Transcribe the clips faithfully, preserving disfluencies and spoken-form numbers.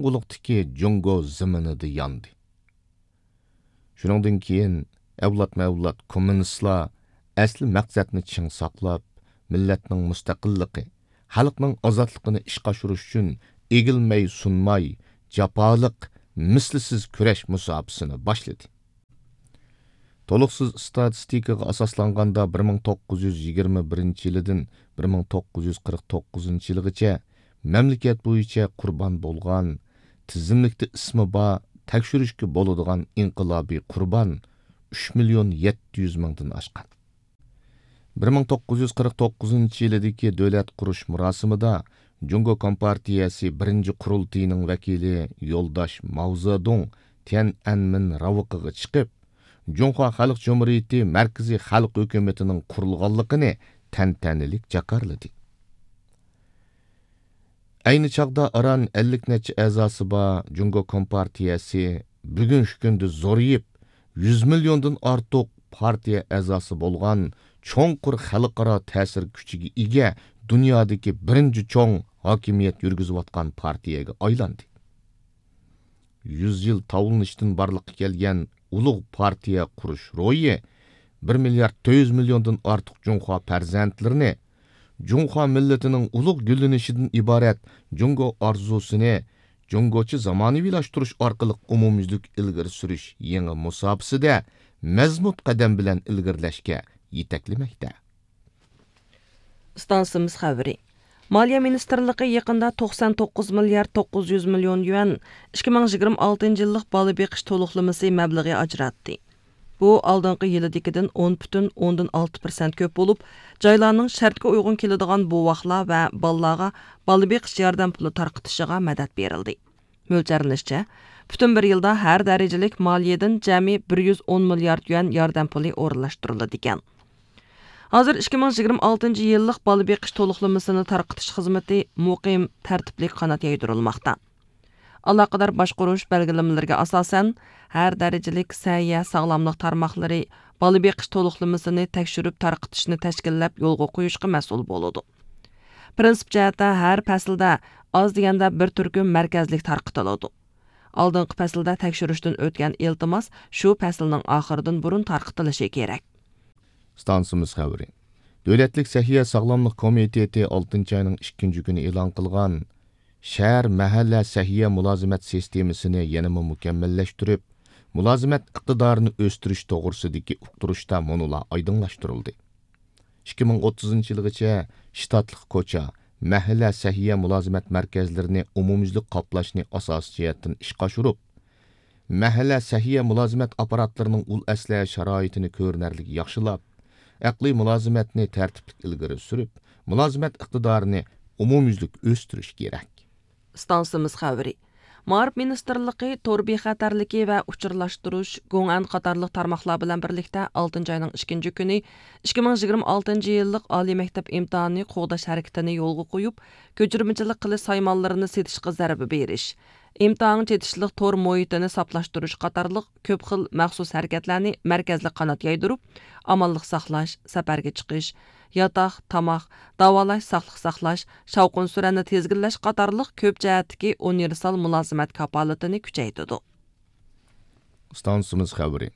قاراڭغۇلۇقتىكى جۇڭگو زېمىنىدا ياندى. شۇنىڭدىن كېيىن ئەۋلادمۇ ئەۋلاد كوممۇنىستلار ئەسلى مەقسەتنى چىڭ ساقلاپ، مىللەتنىڭ مۇستەقىللىقى، خەلقنىڭ ئازادلىقىنى ئىشقا ئاشۇرۇش ئۈچۈن ئېگىلمەي سۇنماي، جاپالىق، مىسلىسىز كۈرەش مۇساپىسىنى باشلىدى. تولۇقسىز ئىستاتىستىكىغا ئاساسلانغاندا، بىر مىڭ توققۇز يۈز يىگىرمە بىرىنچى يىلىدىن بىر مىڭ توققۇز يۈز قىرىق توققۇزىنچى يىلىغىچە مەملىكەت بويىچە قۇربان بولغان، تىزىملىكتە ئىسمى بار، تەكشۈرۈشكە بولىدىغان ئىنقىلابىي قۇربان ئۈچ مىليون يەتتە يۈز مىڭدىن ئاشقان. بىر مىڭ توققۇز يۈز قىرىق توققۇزىنچى يىلىدىكى دۆلەت قۇرۇش مۇراسىمىدا جۇڭگو كومپارتىيەسى بىرىنچى قۇرۇلتىيىنىڭ ۋەكىلى يولداش ماۋزېدۇڭ تيەنئەنمېن راۋىقىغا چىقىپ، جۇڭخۇا خەلق جۇمھۇرىيىتى مەركىزىي خەلق ھۆكۈمىتىنىڭ قۇرۇلغانلىقىنى تەنتەنىلىك جاكارلىدى. ئەينى چاغدا ئاران ئەللىك نەچچە ئەزاسى بار جۇڭگو كومپارتىيەسى بۈگۈنكى كۈندە زورىيىپ، يۈز مىليوندىن ئارتۇق پارتىيە ئەزاسى بولغان، چوڭقۇر خەلقئارا تەسىر كۈچىگە ئىگە، دۇنيادىكى بىرىنچى چوڭ ھاكىمىيەت يۈرگۈزۈۋاتقان پارتىيەگە ئايلاندى. يۈز يىل تاۋلىنىشتىن بارلىققا كەلگەن ئۇلۇغ پارتىيە قۇرۇش روھى بىر مىليارد تۆت يۈز مىليوندىن ئارتۇق جۇڭخۇا پەرزەنتلىرىنى، جۇڭخۇا مىللىتىنىڭ ئۇلۇغ گۈللىنىشىدىن ئىبارەت جۇڭگو ئارزۇسىنى، جۇڭگوچە زامانىۋىلاشتۇرۇش ئارقىلىق ئومۇميۈزلۈك ئىلگىرى سۈرۈش يېڭى مۇساپىسىدە مەزمۇت قەدەم بىلەن ئىلگىرىلەشكە يېتەكلىمەكتە. ئىستانسىمىز خەۋىرى. مالىيە مىنىستىرلىقى يېقىندا توقسان توققۇز مىليارد توققۇز يۈز مىليون يۈەن ئىككى مىڭ يىگىرمە ئالتىنچى يىللىق بالا بېقىش تولۇقلىمىسى مەبلىغى ئاجراتتى. بۇ ئالدىنقى يىلىدىكىدىن ئون پۈتۈن ئوندىن ئالتە پىرسەنت كۆپ بولۇپ، جايلارنىڭ شەرتكە ئۇيغۇن كېلىدىغان بوۋاقلار ۋە بالىلارغا بالا بېقىش ياردەم پۇلى تارقىتىشىغا مەدەت بېرىلدى. مۆلچەرلىنىشىچە، پۈتۈن بىر يىلدا ھەر دەرىجىلىك مالىيىدىن جەمئىي بىر يۈز ئون مىليارد يۈەن ياردەم پۇلى ئورۇنلاشتۇرۇلىدىكەن. ھازىر ئىككى مىڭ يىگىرمە ئالتىنچى يىللىق بالا بېقىش تولۇقلىمىسىنى تارقىتىش خىزمىتى مۇقىم، تەرتىپلىك قانات يايدۇرۇلماقتا. ئالاقىدار باشقۇرۇش بەلگىلىمىلىرىگە ئاساسەن، ھەر دەرىجىلىك سەھىيە ساغلاملىق تارماقلىرى بالا بېقىش تولۇقلىمىسىنى تەكشۈرۈپ تارقىتىشنى تەشكىللەپ يولغا قويۇشقا مەسئۇل بولىدۇ. پىرىنسىپ جەھەتتە ھەر پەسىلدە ئاز دېگەندە بىر تۈركۈم مەركەزلىك تارقىتىلىدۇ. ئالدىنقى پەسىلدە تەكشۈرۈشتىن ئۆتكەن ئىلتىماس شۇ پەسىلنىڭ ئاخىرىدىن بۇرۇن تارقىتىلىشى كېرەك. ئىستانسىمىز خەۋىرى. دۆلەتلىك سەھىيە ساغلاملىق كومىتېتى ئالتىنچى ئاينىڭ ئىككىنچى كۈنى ئېلان قىلغان شەھەر، مەھەللە سەھىيە مۇلازىمەت سىستېمىسىنى يەنىمۇ مۇكەممەللەشتۈرۈپ، مۇلازىمەت ئىقتىدارىنى ئۆستۈرۈش توغرىسىدىكى ئۇقتۇرۇشتا مۇنۇلار ئايدىڭلاشتۇرۇلدى. ئىككى مىڭ ئوتتۇزىنچى يىلغىچە شتاتلىق كوچا، مەھەللە سەھىيە مۇلازىمەت مەركەزلىرىنى ئومۇميۈزلۈك قاپلاشنى ئاساسىي جەھەتتىن ئىشقا ئاشۇرۇپ، مەھەللە سەھىيە مۇلازىمەت ئاپپاراتلىرىنىڭ ئۇل ئەسلىھە شارائىتىنى كۆرۈنەرلىك ياخشىلاپ، ئەقلىي مۇلازىمەتنى تەرتىپلىك ئىلگىرى سۈرۈپ، مۇلازىمەت ئىقتىدارىنى ئومۇميۈزلۈك ئۆستۈرۈش كېرەك. ئىستانسىمىز خەۋىرى. مائارىپ مىنىستىرلىقى تور بىخەتەرلىكى ۋە ئۇچۇرلاشتۇرۇش، گوڭئەن قاتارلىق تارماقلار بىلەن بىرلىكتە ئالتىنچى ئاينىڭ ئىككىنچى كۈنى ئىككى مىڭ يىگىرمە ئالتىنچى يىللىق ئالىي مەكتەپ ئىمتىھانى قوغداش ھەرىكىتىنى يولغا قويۇپ، كۆچۈرمىچىلىك قىلىش سايمانلىرىنى سېتىشقا زەربە بېرىش، ئىمتىھانغا چېتىشلىق تور مۇھىتىنى ساپلاشتۇرۇش قاتارلىق كۆپ خىل مەخسۇس ھەرىكەتلەرنى مەركەزلىك قانات يايدۇرۇپ، ئامانلىق ساقلاش، سەپەرگە چىقىش، ياتاق، تاماق، داۋالاش، ساقلىق ساقلاش، شاۋقۇن سۈرەننى تىزگىنلەش قاتارلىق كۆپ جەھەتتىكى ئۇنىۋېرسال مۇلازىمەت كاپالىتىنى كۈچەيتىدۇ. ئىستانسىمىز خەۋىرى.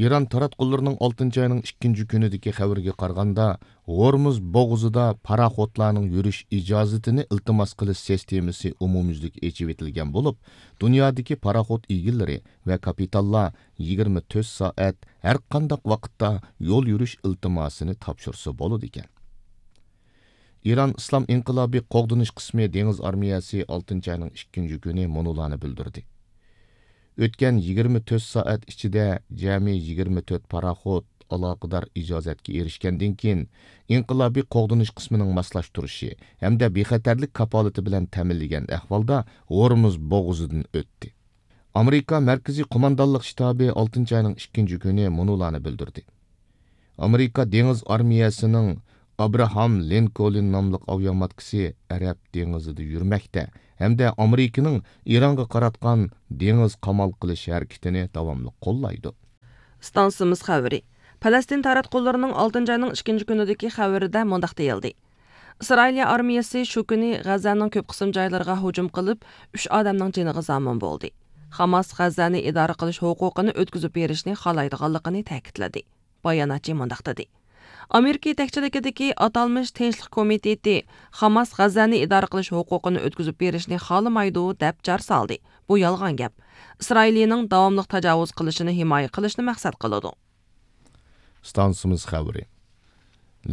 ئىران تاراتقۇلىرىنىڭ ئالتىنچى ئاينىڭ ئىككىنچى كۈنىدىكى خەۋىرىگە قارىغاندا، ھورمۇز بوغۇزىدا پاراخوتلارنىڭ يۈرۈش ئىجازىتىنى ئىلتىماس قىلىش سىستېمىسى ئومۇميۈزلۈك ئېچىۋېتىلگەن بولۇپ، دۇنيادىكى پاراخوت ئىگىلىرى ۋە كاپىتانلار يىگىرمە تۆت سائەت ھەرقانداق ۋاقىتتا يول يۈرۈش ئىلتىماسىنى تاپشۇرسا بولىدىكەن. ئىران ئىسلام ئىنقىلابىي قوغدىنىش قىسمى دېڭىز ئارمىيەسى ئالتىنچى ئاينىڭ ئىككىنچى كۈنى مۇنۇلارنى بىلدۈردى. ئۆتكەن يىگىرمە تۆت سائەت ئىچىدە جەمئىي يىگىرمە تۆت پاراخوت ئالاقىدار ئىجازەتكە ئېرىشكەندىن كېيىن، ئىنقىلابىي قوغدىنىش قىسمىنىڭ ماسلاشتۇرۇشى ھەمدە بىخەتەرلىك كاپالىتى بىلەن تەمىنلىگەن ئەھۋالدا ھورمۇز بوغۇزىدىن ئۆتتى. ئامېرىكا مەركىزىي قوماندانلىق شتابى ئالتىنچى ئاينىڭ ئىككىنچى كۈنى مۇنۇلارنى بىلدۈردى. ئامېرىكا دېڭىز ئارمىيەسىنىڭ ئابراھام لىنكولن ناملىق ئاۋىئاماتكىسى ئەرەب دېڭىزىدا يۈرمەكتە ھەمدە ئامېرىكىنىڭ ئىرانغا قاراتقان دېڭىز قامال قىلىش ھەرىكىتىنى داۋاملىق قوللايدۇ. ئىستانسىمىز خەۋىرى. پەلەستىن تاراتقۇلىرىنىڭ ئالتىنچى ئاينىڭ ئىككىنچى كۈنىدىكى خەۋىرىدە مۇنداق دېيىلدى: ئىسرائىلىيە ئارمىيەسى شۇ كۈنى غەززەنىڭ كۆپ قىسىم جايلىرىغا ھۇجۇم قىلىپ، ئۈچ ئادەمنىڭ جېنىغا زامىن بولدى. خاماس غەززەنى ئىدارە قىلىش ھوقۇقىنى ئۆتكۈزۈپ بېرىشنى خالايدىغانلىقىنى تەكىتلىدى. باياناتچى مۇنداق دېدى: ئامېرىكا يېتەكچىلىكىدىكى ئاتالمىش تىنچلىق كومىتېتى خاماس غەززەنى ئىدارە قىلىش ھوقۇقىنى ئۆتكۈزۈپ بېرىشنى خالىمايدۇ، دەپ جار سالدى. بۇ يالغان گەپ. ئىسرائىلىيىنىڭ داۋاملىق تاجاۋۇز قىلىشىنى ھىمايە قىلىشنى مەقسەت قىلىدۇ. ئىستانسىمىز خەۋىرى.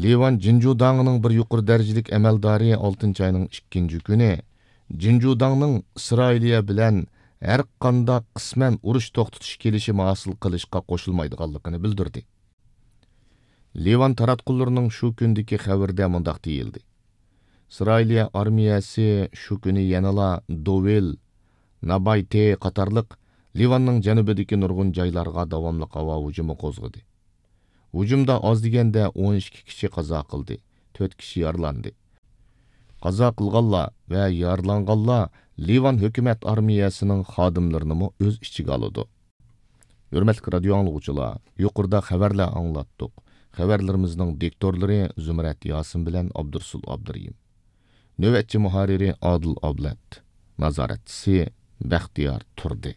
لىۋان جىنجۇداڭنىڭ بىر يۇقىرى دەرىجىلىك ئەمەلدارى ئالتىنچى ئاينىڭ ئىككىنچى كۈنى جىنجۇداڭنىڭ ئىسرائىلىيە بىلەن ھەر قانداق قىسمەن ئۇرۇش توختىتىش كېلىشىمى ھاسىل قىلىشقا قوشۇلمايدىغانلىقىنى بىلدۈردى. لىۋان تاراتقۇلىرىنىڭ شۇ كۈندىكى خەۋىرىدە مۇنداق دېيىلدى: ئىسرائىلىيە ئارمىيەسى شۇ كۈنى يەنىلا دوۋىل، نابايتې قاتارلىق لىۋاننىڭ جەنۇبىدىكى نۇرغۇن جايلارغا داۋاملىق ھاۋا ھۇجۇمى قوزغىدى. ھۇجۇمدا ئاز دېگەندە ئون ئىككى كىشى قازا قىلدى، تۆت كىشى يارىلاندى. قازا قىلغانلار ۋە يارىلانغانلار لىۋان ھۆكۈمەت ئارمىيەسىنىڭ خادىملىرىنىمۇ ئۆز ئىچىگە ئالىدۇ. ھۆرمەتلىك رادىيو ئاڭلىغۇچىلار، يۇقىرىدا خەۋەرلەر ئاڭلاتتۇق. خەۋەرلىرىمىزنىڭ دىكتورلىرى زۇمرەت ياسىن بىلەن ئابدۇرسۇل ئابدۇرېھىم. نۆۋەتچى مۇھەررىرى ئادىل ئابلەت. نازارەتچىسى بەختىيار تۇردى.